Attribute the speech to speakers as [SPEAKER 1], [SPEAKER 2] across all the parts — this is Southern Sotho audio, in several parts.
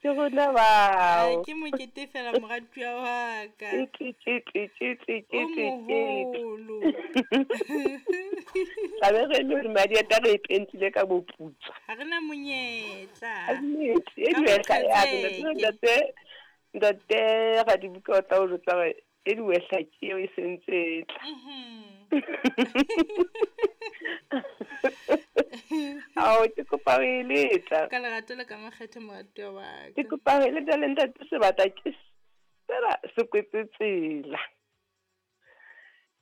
[SPEAKER 1] Ke rona bao.
[SPEAKER 2] Ke mokete fela moratuwa wa ka.
[SPEAKER 1] Ke
[SPEAKER 2] O moholo.
[SPEAKER 1] Tlabe re le hore madi a tla re e pentile ka boputswa.
[SPEAKER 2] Ha re na monyetla.
[SPEAKER 1] Nnete, e diwehla ya ntate ntate Radibuka o tla o jwetsa hore e diwehla ke eo e sentse e tla. Ao, ke kopa ho e letla.
[SPEAKER 2] Ka lerato le ka makgethe moratuwa wa ka.
[SPEAKER 1] Ke kopa ho e letla le ntate Sebata ke sela se kwetse tsela.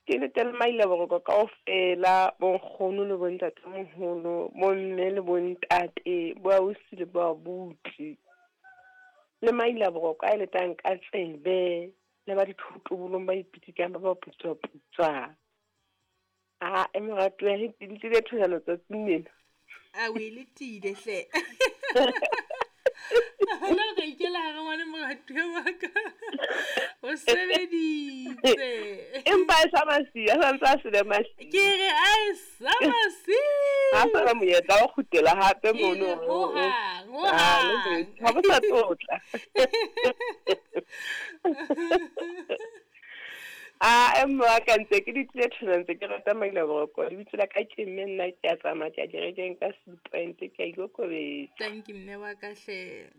[SPEAKER 1] Ke letele maila boroko kaofela, bonkgono le bontatemoholo, bomme le bontate, boausi le boabuti. Le maila boroko a e letang ka tsebe, le ba dithotobolong ba ipitikang ba ba putswa-putswa. A e moratuwa he ke tlile thojana tsatsing lena.
[SPEAKER 2] A o e letile hle. Hona o ka ikela hare ngwane moratuwa wa ka. O sebeditse.
[SPEAKER 1] Empa e sa masiu, a santse a sele masiu.
[SPEAKER 2] Ke re a e sa masiu.
[SPEAKER 1] Ha sa monyetla wa kgutlela hape
[SPEAKER 2] Ke
[SPEAKER 1] mono.
[SPEAKER 2] re hohang,
[SPEAKER 1] Ah, le
[SPEAKER 2] hohang.
[SPEAKER 1] jwetse, ha bo sa tlotla. A mme wa ka ntse ke di tlile thona ntse ke rata maila boroko. Lebitso la ka ke mme nna ke a tsamaya ke a kerekeng ka Sea Point ke a ikokobetsa.
[SPEAKER 2] Thank you mme wa ka hle.